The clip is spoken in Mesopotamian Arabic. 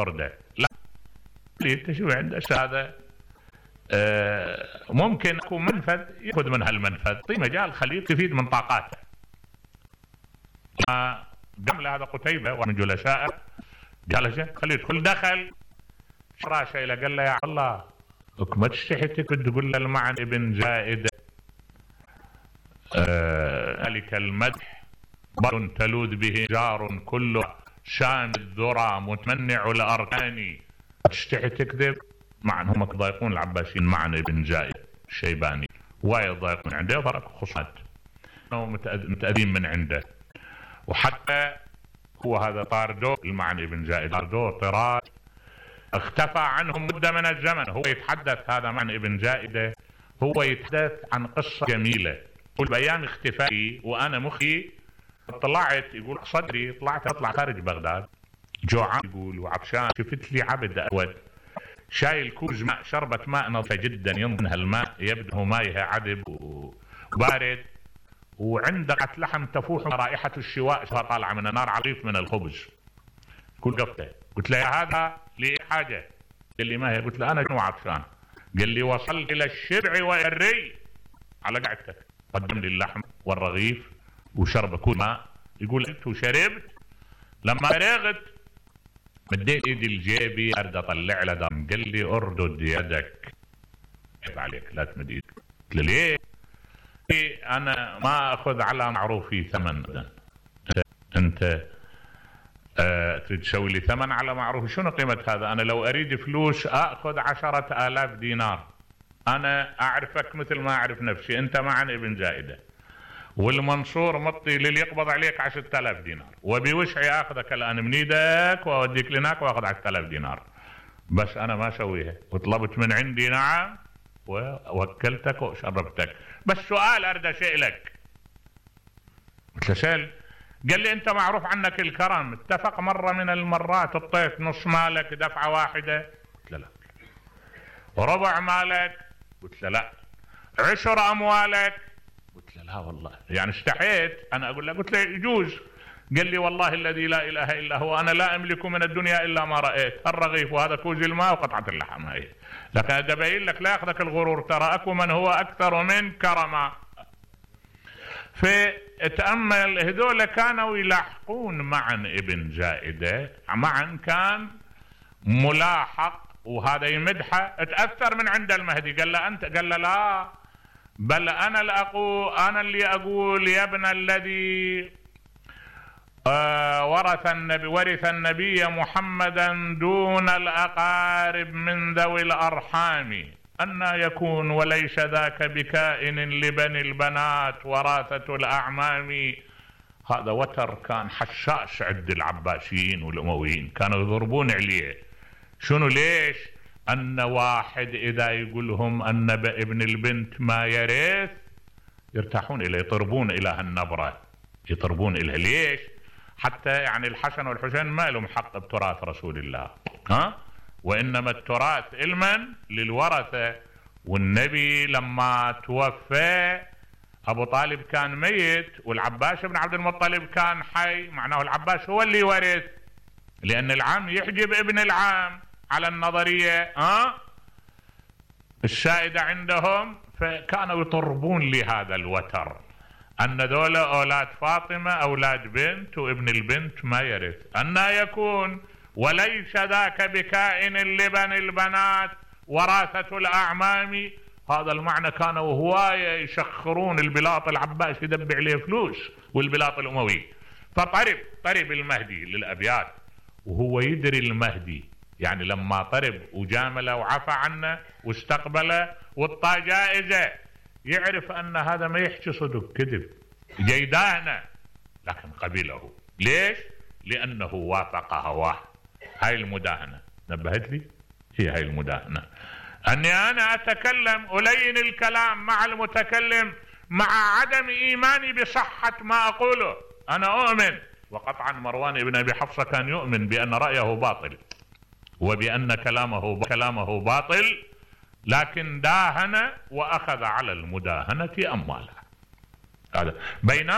يطرده. لا، انت شو عندك هذا ممكن يكون منفذ ياخذ من هالمنفذ، طيب مجال خليه يستفيد من طاقاته. قام له هذا قتيبة ومن جلسائه قال خليه يدخل، دخل شراشه الى قال له يا الله ما تستحي تقول له المعن ابن زائدة ذلك المدح بر تلوذ به جار كله شام الذرى متمنع الاركان، تستحي تكذب؟ معن هم يضايقون العباسيين معن ابن زائد الشيباني وايد يضايقون عنده، فرق خصات متأذين من عنده. وحتى هو هذا طاردو المعن ابن زائد طاردو طراد اختفى عنهم مدة من الزمن. هو يتحدث هذا معن ابن زائدة، هو يتحدث عن قصة جميلة. يقول بأيام اختفائي وأنا مخي طلعت، يقول صدري طلعت أطلع خارج بغداد جوعان يقول وعطشان، شفت لي عبد أسود شايل كوز ماء، شربة ماء نظيفة جدا ينظر هالماء يبدو مايها عذب وبارد، وعنده قطعة لحم تفوح رائحة الشواء طالعة من النار عريف من الخبز. كل قفته قلت له يا هذا لي حاجة؟ قال لي ما هي؟ قلت له أنا شنو عطشان؟ قال لي وصلت إلى الشبع والري على قعدتك، قدم لي اللحم والرغيف وشرب كل ماء. يقول أنت وشربت، لما فرغت مديت ايدي لجيبي ارد اطلع له دم، قال لي اردد يدك عيب عليك لا تمد ايدك. قلت له ليه؟ انا ما اخذ على معروفي ثمن. انت تريد تسوي لي ثمن على معروفي؟ شنو قيمة هذا؟ انا لو اريد فلوس اخذ 10,000 دينار. انا اعرفك مثل ما اعرف نفسي، انت معن ابن زائدة والمنصور مطي للي يقبض عليك 10,000 دينار، وبوسعي اخذك الان من ايدك واوديك لهناك واخذ 10,000 دينار، بس انا ما اسويها، وطلبت من عندي نعم ووكلتك وشربتك، بس سؤال اريد اسالك. قلت له سأل. قال لي انت معروف عنك الكرم، اتفق مره من المرات اعطيت نص مالك دفعه واحده؟ قلت له لا. وربع مالك؟ قلت له لا. 10 اموالك؟ قلت له لا والله، يعني استحيت انا اقول له. قلت له يجوز. قال لي والله الذي لا اله الا هو انا لا املك من الدنيا الا ما رايت، الرغيف وهذا كوز الماء وقطعه اللحم هي، لكن ابين لك لا ياخذك الغرور، ترى اكو من هو اكثر من كرما. فتأمل هذول كانوا يلاحقون معن ابن زائدة، معن كان ملاحق وهذا يمدحه، تأثر من عند المهدي. قال له انت؟ قال له لا، بل انا اللي اقول يا ابن الذي ورث النبي محمدا دون الاقارب من ذوي الارحام، أن يكون وليس ذاك بكائن لبني البنات وراثة الأعمام. هذا وتر كان حشاش عند العباسيين والأمويين، كانوا يضربون عليه. شنو ليش؟ أن واحد إذا يقولهم أن ابن البنت ما يرث يرتاحون إليه، يطربون إلى هالنبرة، يطربون إليه. ليش؟ حتى يعني الحسن والحسين ما لهم حق بتراث رسول الله، وإنما التراث علما للورثة. والنبي لما توفى أبو طالب كان ميت والعباس بن عبد المطلب كان حي، معناه العباس هو اللي ورث، لأن العم يحجب ابن العام على النظرية السائدة عندهم. فكانوا يطربون لهذا الوتر أن ذولا أولاد فاطمة أولاد بنت وابن البنت ما يرث، أن يكون وليس ذاك بكائن لبني البنات وراثة الأعمام. هذا المعنى كانوا هواية يشخرون البلاط العباس يدبع عليه فلوس والبلاط الأموي. فطرب المهدي للأبيات وهو يدري المهدي، يعني لما طرب وجامله وعفى عنه واستقبله وطى جائزة، يعرف أن هذا ما يحكي صدق كذب جيدانه، لكن قبله. ليش؟ لأنه وافق هواه. هاي المداهنة نبهت لي، هي هاي المداهنة، أني أنا أتكلم ألين الكلام مع المتكلم مع عدم إيماني بصحة ما أقوله. أنا أؤمن، وقطعا مروان بن أبي حفصة كان يؤمن بأن رأيه باطل وبأن كلامه باطل، لكن داهن وأخذ على المداهنة أمواله. هذا بينما